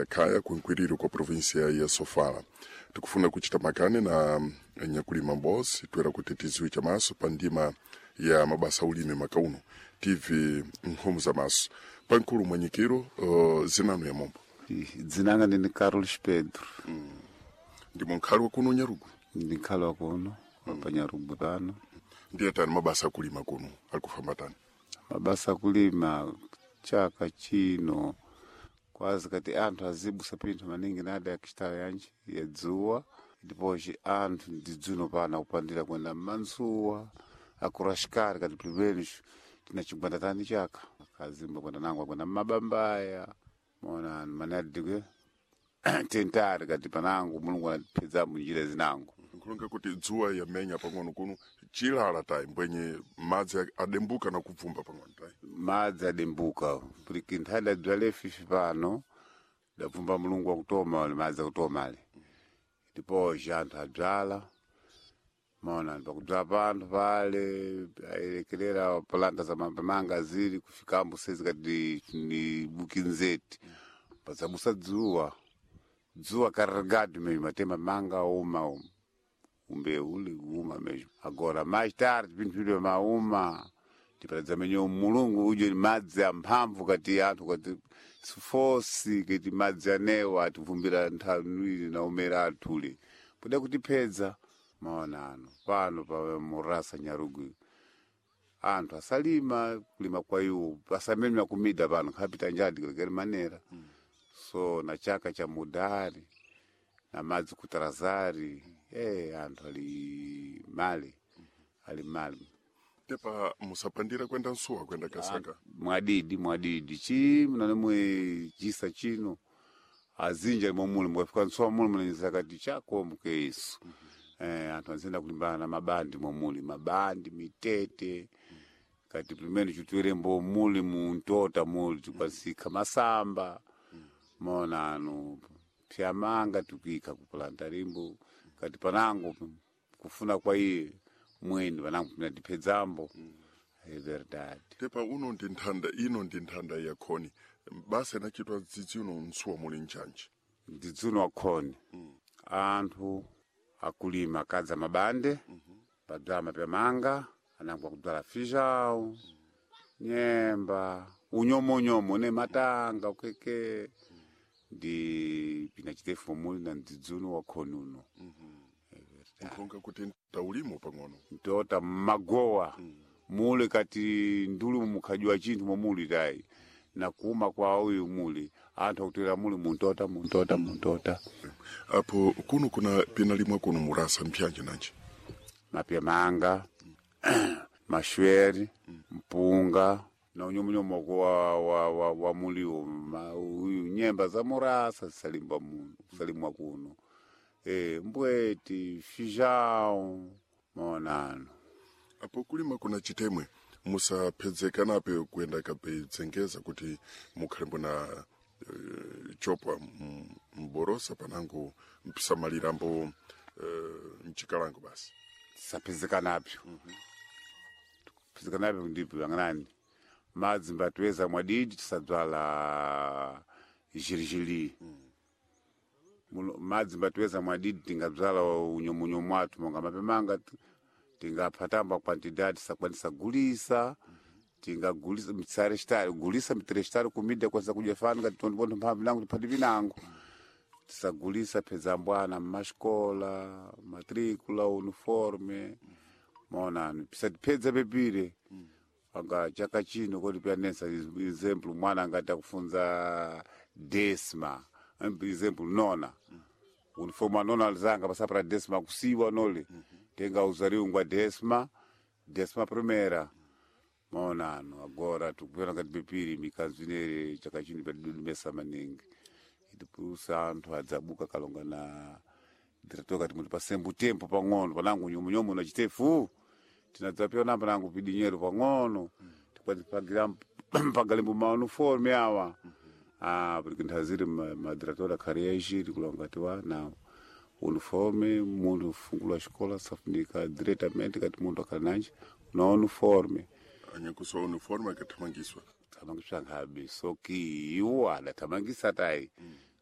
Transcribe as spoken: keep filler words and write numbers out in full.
ya Khaya kunkwiriro kwa província ya Sofala. Tikufuna kuchita makane na nyakulima mbosi twera kuti tiziwe chamaso pa ndima ya mabasa ulimi makauno T V nkhomo za maso pankulu mwanyikiro uh, zinano ya mombo. Dzinanga ndini Carlos Pedro. Ndimo nkhali wa kuno Nyarugu? Ndi nkhali wa kuno pa Nyarugu pano. Ndiye tani mabasa akulima kuno alikufamba tani? Mabasa akulima chaka chino kwazi kati anthu azibusa pinthu maningi nada yakistala yanji ya dzuwa, ndipoci anthu ndidzuno pano akupandira kwenda mmantsuwa akuraxikari kati pilipenisho tina chigwanda tani chaka akazimba kwenda nango akwenda mmabambaya mona manadikwe tentari kati panango Mulungu anatipedza munjira zinango. Nkulonga kuti dzuwa yamenya pang'ono kuno chilala tayi mbwenye madzi adembuka na kubvumba pang'ono tayi? Madzi adembuka puliki nthali dadzwale fifi pano dabvumba Mulungu akutoma ale madzi akutoma ale, ndipoci anthu adzala maona pakudzala panthu pale ayerekerera palanta za mapamanga zili kufikambo sezi kati ni bukinzeti pazabusa dzuwa dzuwa carregado mesmo matema manga uma uma umbewu uli uma mesmo. Agora mais tarde pinthu pidwe mauma tiparadza menye Mulungu uje madzi amphamvu kati anthu kati sifosi kati madzi anewa ativumbira nthawi na umera athule poda kutipedza maonano pano pa murasa Nyarugu anthu asalima kulima kwa iwo asamemya kumida pano khapita njadi kulekera manera so na chaka cha mudari na madzi kutarazari eh anthu ali mali ali mali. Tepa musapandira kwenda nsuwa kwenda kasaka? Mwadidi mwadidi chi mnanemwe chisa chino azinja momuli mukafika nsuwa muli munanyisa kati chako mukeisu eh anthu anzenda kulimbana na mabandi momuli mabandi mitete kati pimene chitwerembo muli muntota muli tikwasikha masamba maonano pyamanga tikuyikha kupulanta limbo kati panango kufuna kwa iye mweni panango pinatipedzambo é verdade. Tepa uno ndi nthanda ino ndi nthanda ya khoni basa inachitwa dzidzi uno nsuwa muli nchanji? Ndidzuno wakhoni anthu akulima akadza mabande padzala mapyamanga anango akudzala fijau nyemba unyomonyomo ne matanga ukeke ndi pinachitefu muli na ndidzuno wakhoni uno. Nkhonga kuti taulimo pang'ono. Ntota mmagowa muli kati ndulu mukhadyiwa chinthu momuli tayi na kuma kwa uyu muli anthu akutera muli muntota muntota muntota. Apo kuno kuna pinalimwa kuno murasa mpyanji nanji? Mapyamanga, mashweri, mpunga na unyomunyomoko wa, wa, wa, wa muliwo Ma- uyu nyemba za murasa zisalimba muno kusalimwa kuno e, mbweti fijau maonano. Apo kulima kuna chitemwe musaphedzekanape kuyenda kapedzengeza kuti mukhalembo na uh, chopwa m- mborosa panango mpisamalirambo uh, mchikalango basi? Tisaphezekanapyo phezekanapyo ndipo ang'anani madzi mbatweza mwadidi tisadzala jirijiri. Muno- madzi mbatweza mwadidi tingadzala unyomunyomu athu monga mapemanga ti- tingaphatamba quantidade tisakwanisa gulisa tingagulisa mitsarestari gulisa mitrestari kumida kwanisa kudya fani kati tondipontho mphamvu nango tiphati pinango tisagulisa phedza mbwana mmaxikola matricula uniforme maonano pisatiphedza pepire anga chaka chino kodi pianesa exemplo mwana angati akufunza desma exemplo nona uniforme anona alizanga pasapra desma kusiwa nole tenga uzariungwa desma desma primera maonano. Agora tikupena ngati pepiri mikanzu inere chaka chino padidudumesa maningi itipusa anthu adzabuka kalonga na diretor kati muti pasembu tempo pang'ono panango nyomunyomu na chitefu tinadzapyona panango pidinyero pang'ono tikwadzipagira pagalimbo mauniforme awa ah porque nthaziri madiretor akhali yaxiri kulonga ti wa na uniforme munthu ufungula xikola safunika diretamente kati munthu akhali nanji na uniforme. Anyakuswa uniforme akathamangiswa. Thamangiswa nkhabe soki iwo adathamangisa tayi.